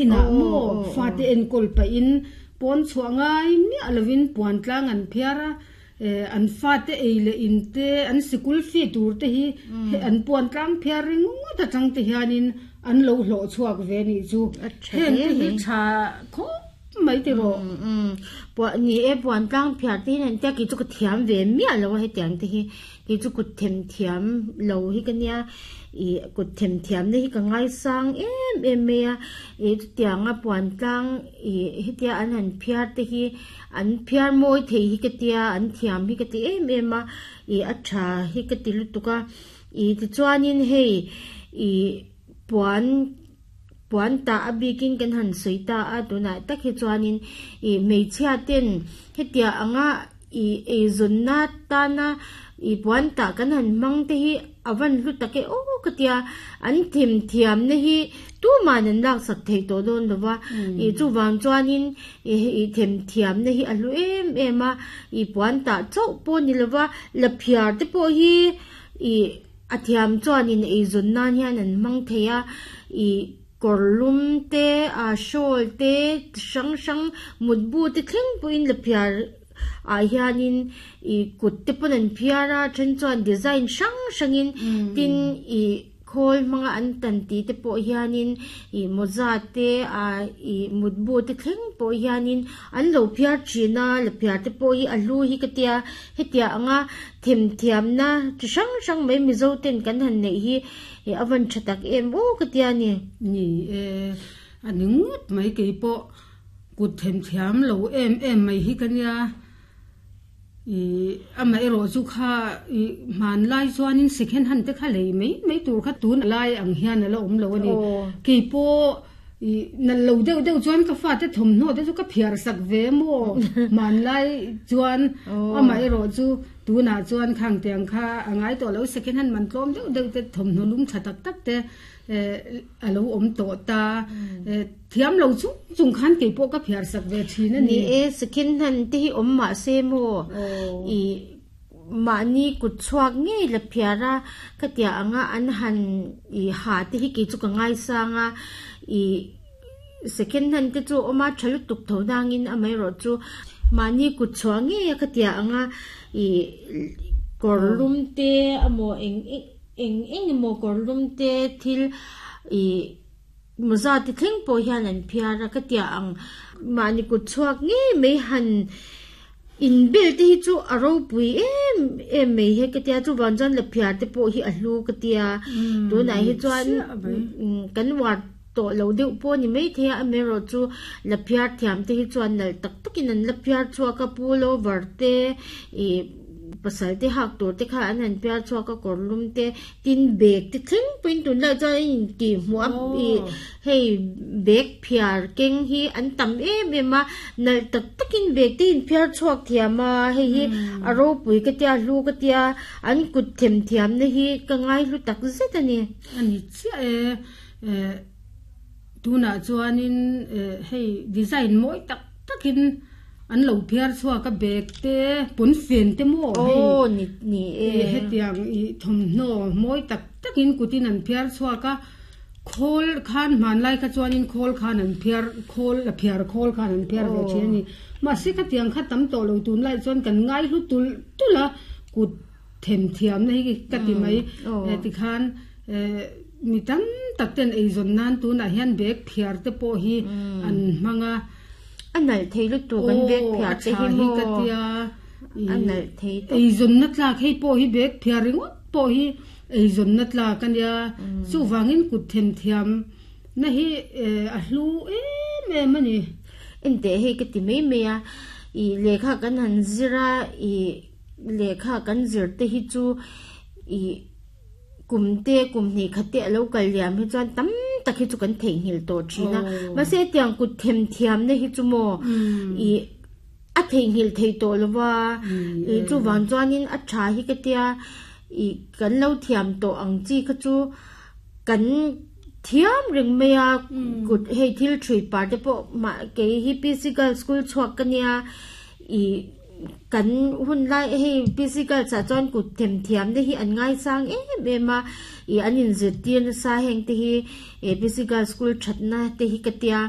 Inah maw fate enkawl pahin pawn chhuah ngai miah lovin puan tlang an phiar a, an fate ei leh in te, an sikul fee tur te hi an puan tlang phiar ringawt atang te hianin an lo hlawh chhuak ve nih chu. Heng te hi tha khawp mai tiraw. Puah ni e, puan tlang phiar te hian an tia kei chu ka thiam ve miah lo a hetiang te hi. Kei chu kut them thiam lo hi ka nia, ih kut them thiam na hi ka ngaisang em em mai a, ih chutianga puan tlang ih hetia an han phiar te hi an phiar mawi thei hi ka tia an thiam hi ka ti em em a, ih a tha hi ka ti lutuk a, ih tichuanin hei ih puan puan tah a bikin kan han sawi ta a tunah tak hi chuanin ih hmeichhia ten hetia anga. Ih eizawnna tana ih puan tah kan han hmang te hi a van hlu tak e aw ka tia, an themthiamna hi tuman an laksak theih tawh dawn lo va, ih chuvang chuanin ih ih themthiamna hi a hlu em em a, ih puan tah chauh pawh ni lo va, laphiar te pawh hi ih a thiam chuanin eizawn nan hian an hmang thei a, ih. Kawr lum te, ah shawl te, chi hrang hrang mutbu te thleng pawhin la phiar ah hianin ih kut te pawn an phiar a, then chuan design hrang hrangin tin ih khawl hmanga an tan tih te pawh hianin ih mawza te ah ih mutbu te thleng pawh hianin an lo phiar thin a, la phiar te pawh hi a hlu hi ka tia hetiang anga themthiamna chi hrang hrang mai Mizo ten kan han neih hi Ih a van tha tak em aw ka tia ni. Ni e, a ni ngawt mai kei pawh kut themthiam lo em em mai hi ka nia. Ih amaherawh chu kha ih hmanlai chuanin second hand te kha lei mai mai tur kha tun lai ang hian a la awm lo a ni. Kei pawh ih nalh lo deuh deuh chuan ka fate thawmhnaw te chu ka phiar sak ve maw hmanlai chuan amaherawh chu Tunah chuan khang tiang kha a ngai tawh lo, second hand man tlawm deuh deuh te thawmhnaw lum tha tak tak te a lo awm tawh ta. Thiam lo chung chung khan kei pawh ka phiar sak ve thin a ni. Ni e, second hand te hi awm mah se maw i mahni kut chhuak ngei la phiar a, ka tia anga an han i ha te hi kei chu ka ngaisang a, i Second hand te chu awm a tha lutuk tho dangin amaherawh chu mahni kut chhuah ngei a ka tia ang a ih kawr lum te emaw eng eng eng emaw kawr lum te thil ih mawza te thleng pawh hian an phiar a ka tia ang mahni kut chhuak ngei mai han Inbel te hi chu a ropui em em mai he ka tia chuvang chuan laphiar te pawh hi a hlu ka tia tunah hi chuan kan uar tawh lo deuh pawh a ni maithei a amaherawh chu laphiar thiam te hi chuan nalh tak takin an laphiar chhuak a pullover te ih pasal te hak tur te kha an han phiar chhuak a kawr lum te tin bag te thleng pawhin tunlai chuan a intih hmuh a ih Hei bag phiar keng hi an tam em em a, nalh tak takin bag te inphiar chhuak thiam a, hei hi a ropui ka tia, a hlu ka tia, an kut them thiamna hi ka ngai hlu tak zet a ni. A ni chiah e, eh tunah chuanin eh hei design mawi tak takin an lo phiar chhuak a bag te pawnfen te maw hei Aw ni ni e. Hetiang ih thawmhnaw mawi tak takin kutin an phiar chhuak a. Khawl khan hmanlai kha chuanin khawl khan an phiar khawl a phiar khawl khan an phiar ve thin a ni. Mahse khatiang kha tam tawh lo tunlai chuan kan ngai hlu tulh tulh a, kut them thiamna hi ka ti mai. Tikhan mi tam tak ten eizawn nan tunah hian bag phiar te pawh hi an hmang a. A nalh thei lutuk an bag phiar te hi maw? A nalh thei tawp. Eizawnna tlak hei pawh hi bag phiar ringawt pawh hi Eizawnna tlak a nia, chuvangin kut themthiam na hi a hlu em em a ni. Enteh hei ka ti mai mai a, ih lehkha kan han zir a, ih lehkha kan zir te hi chu ih kum te kum hnih khat te a lo kal liam hi chuan tam tak hi chu kan theihnghilh tawh thin a, mahse hetiang kut themthiam na hi chu maw ih a theihnghilh theih tawh lo va, ih chuvang chuanin a tha hi ka tia. Ih kan lo thiam tawh ang chi kha chu kan thiam reng mai a, kut hei thil thui par te pawh mah kei hi PC Girls School chhuak ka nia ih Kan hun lai hei P C girls ah chuan kut themthiam te hi an ngaisang em em a ih an inzirtir nasa heng te hi ih P C girls school thatna te hi ka tia.